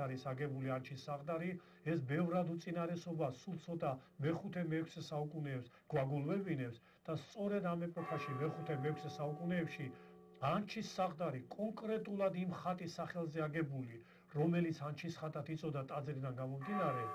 არის აგებული ანჩის საღდარი, ეს ბევრად უწინარესობა სულ ცოტა მე-5-მე-6 საუკუნეებს გვაგულვებინებს და სწორედ ამ ეპოქაში მე-5-მე-6 საუკუნეებში ანჩის საღდარი კონკრეტულად იმ ხატის სახელზე აგებული, რომელიც ანჩის ხატად იწოდა ტაძრიდან გამომდინარე,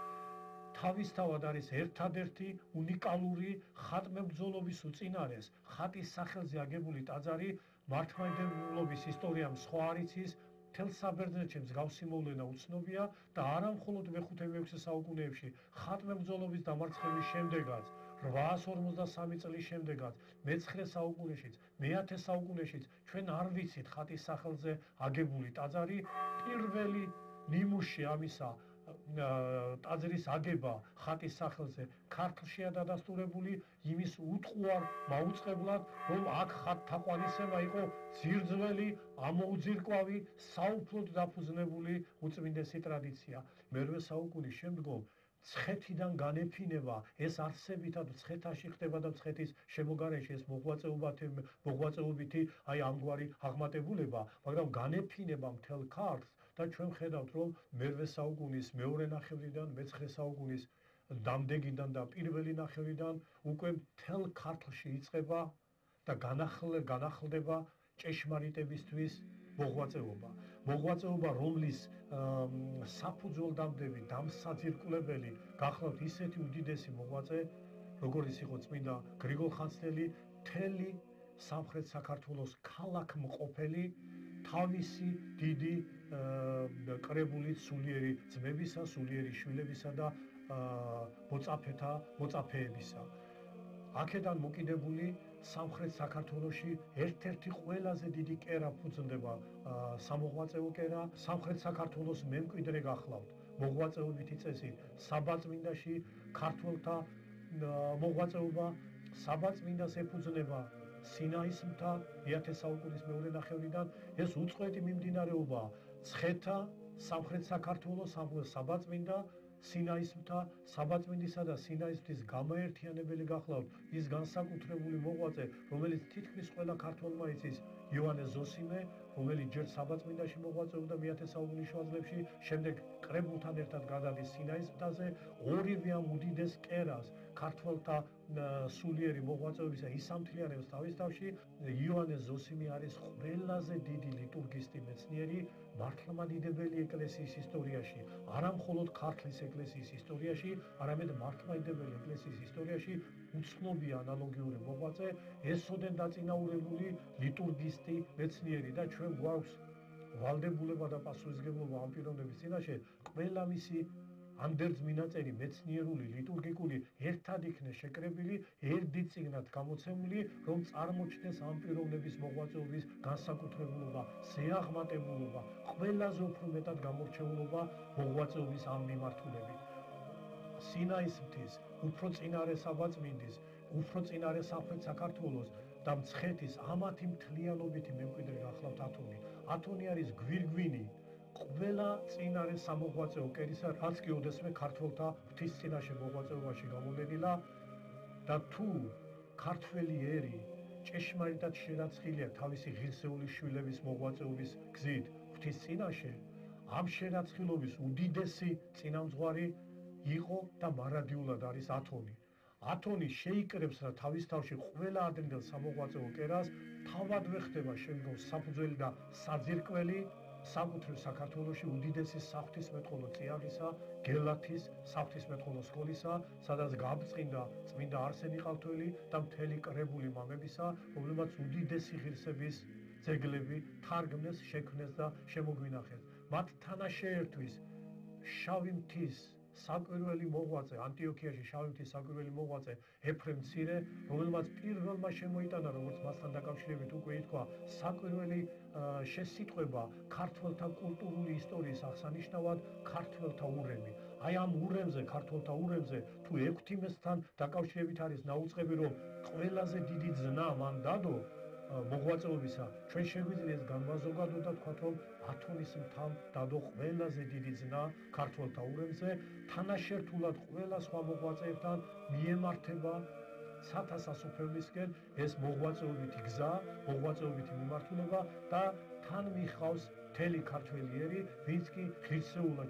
თავისთავად არის ერთადერთი უნიკალური ხატმებრძოლობის უწინარეს ხატის სახელზე აგებული ტაძარი მართლმადიდებლობის ისტორიამ სხვა არ იცის, მთელ საბერძნეთში მსგავსი მოვლენა უცნობია და არა მხოლოდ მე-5-მე-6 საუკუნეებში ხატმებრძოლობის დამარცხების შემდეგაც 853 წლის შემდეგაც მე-9 საუკუნეშიც, მე-10 საუკუნეშიც ჩვენ არ ვიცით ხატის სახელზე აგებული ტაძარი, პირველი ნიმუში ამისა ტაძრის აგება ხატის სახელზე ქართლშია დადასტურებული იმის უტყუარ მაუწყებლად, რომ აქ ხატთაყვანისება იყო ძირძველი, ამოუძირკვავი, საუფლოდ დაფუძნებული უწმინდესი ტრადიცია. მე-8 საუკუნის შემდგომ მცხეთიდან განეფინება ეს არსებითად მცხეთაში ხდება და მცხეთის შემოგარენში ეს მოღვაწეობითი ამგვარი აღმატებულება, მაგრამ განეფინება მთელ ქართლს და ჩვენ ხედავთ, რომ მე-8 საუკუნის მეორე ნახევრიდან, მე-9 საუკუნის დამდეგიდან და პირველი ნახევრიდან უკვე მთელ ქართლში იწყება და განახლდება ჭეშმარიტებისთვის მოღვაწეობა, რომლის საფუძველდამდები, დამსაძირკვლებელი გახლავთ ისეთი უდიდესი მოღვაწე, როგორიც იყო წმინდა გრიგოლ ხანძთელი, მთელი სამხრეთ საქართველოს ქალაქმყოფელი, თავისი დიდი კრებული სულიერი ძმებისა, სულიერი შვილებისა და მოწაფეებისა. აქედან მოკიდებული სამხრეთ საქართველოში ერთ-ერთი ყველაზე დიდი კერა ფუძნდება სამოღვაწეო კერა, სამხრეთ საქართველოს მემკვიდრე გახლავთ მოღვაწეობითი წესით საბაწმინდაში ქართველთა მოღვაწეობა, საბაწმინდას ეფუძნება სინაის მთა მე-10 საუკუნის მეორე ნახევრიდან, ეს უწყვეტი მიმდინარეობა მცხეთა, სამხრეთ საქართველოს საბაწმინდა, სინაის მთა, საბაწმინდისა და სინაის მთის გამაერთიანებელი გახლავთ ის განსაკუთრებული მოღვაწე, რომელიც თითქმის ყველა ქართველმა იცის, იოანე ზოსიმე, რომელიც ჯერ საბაწმინდაში მოღვაწეობდა მე-10 საუკუნის შუა წლებში, შემდეგ კრებულთან ერთად გადადის სინაის მთაზე, ორივე ამ უდიდეს კერას ქართველთა სულიერი მოღვაწეობისა ისამთლიანებს თავის თავში. იოანე ზოსიმე არის ყველაზე დიდი ლიტურგისტი მეცნიერი მართლმადიდებელი ეკლესიის ისტორიაში, არა მხოლოდ ქართლის ეკლესიის ისტორიაში, არამედ მართლმადიდებელი ეკლესიის ისტორიაში უცნობია ანალოგიური მოღვაწე, ესოდენ დაწინაურებული ლიტურგისტი მეცნიერი და ჩვენ გვაქვს ვალდებულება და პასუხისმგებლობა ამ პიროვნების წინაშე ყველა მისი ანდერძ მინაწერი მეცნიერული, ლიტურგიკული ერთად იქნეს შეკრებილი, ერთ წიგნად გამოცემული, რომ წარმოჩნდეს ამ პიროვნების მოღვაწეობის განსაკუთრებულობა, ზეაღმატებულობა, ყველაზე უფრო მეტად გამორჩეულობა მოღვაწეობის ამ მიმართულებით. სინაის მთის, უფრო წინარე საბაწმინდის, უფრო წინარე სამხრეთ საქართველოს და მცხეთის ამათი მთლიანობითი მემკვიდრე გახლავთ ათონი. ათონი არის გვირგვინი ყველა წინარე სამოღვაწეო კერისა, რაც კი ოდესმე ქართველთა ღვთის წინაშე მოღვაწეობაში გამოდედილა და თუ ქართველი ერი ჭეშმარიტად შერაცხილია თავისი ღირსეული შვილების მოღვაწეობის გზით ღვთის წინაშე, ამ შერაცხილობის უდიდესი წინამძღვარი იყო და მარადიულად არის ათონი. ათონი შეიკრებს რა თავის თავში ყველა ადრინდელ სამოღვაწეო კერას, თავადვე ხდება შემდგომ საფუძველი და საძირკველი საკუთრივ საქართველოში უდიდესი საღვთისმეტყველო წიაღისა, გელათის საღვთისმეტყველო სკოლისა, სადაც გაბრწყინდა წმინდა არსენი ყალთველი და მთელი კრებული მამებისა, რომლებმაც უდიდესი ღირსების ძეგლები თარგმნეს, შექმნეს და შემოგვინახეს. მათ თანაშეერთვის შავი მთის საკვირველი მოღვაწე, ანტიოქიაში შავი მთის საკვირველი მოღვაწე ეფრემ მცირე, რომელმაც პირველმა შემოიტანა, როგორც მასთან დაკავშირებით უკვე ითქვა, საკვირველი შესიტყვება ქართველთა კულტურული ისტორიის აღსანიშნავად ქართველთა ურემი. აი ამ ურემზე, ქართველთა ურემზე, თუ 6-მესთან დაკავშირებით არის ნაუწყები, რომ ყველაზე დიდი ძნა მან დადო მოღვაწეობისა, ჩვენ შეგვიძლია ეს განმაზოგადო და თქვათ, რომ ათონის მთავ დადო ყველაზე დიდი ძნა ქართველთა ურემზე, თანაშერთულად ყველა სხვა მოღვაწეებთან მიემართება სათასასოფევლისკენ ეს მოღვაწეობითი გზა, მოღვაწეობითი მიმართულება და თან მიხავს მთელი ქართველი ერი, ვინც კი ღირსეულად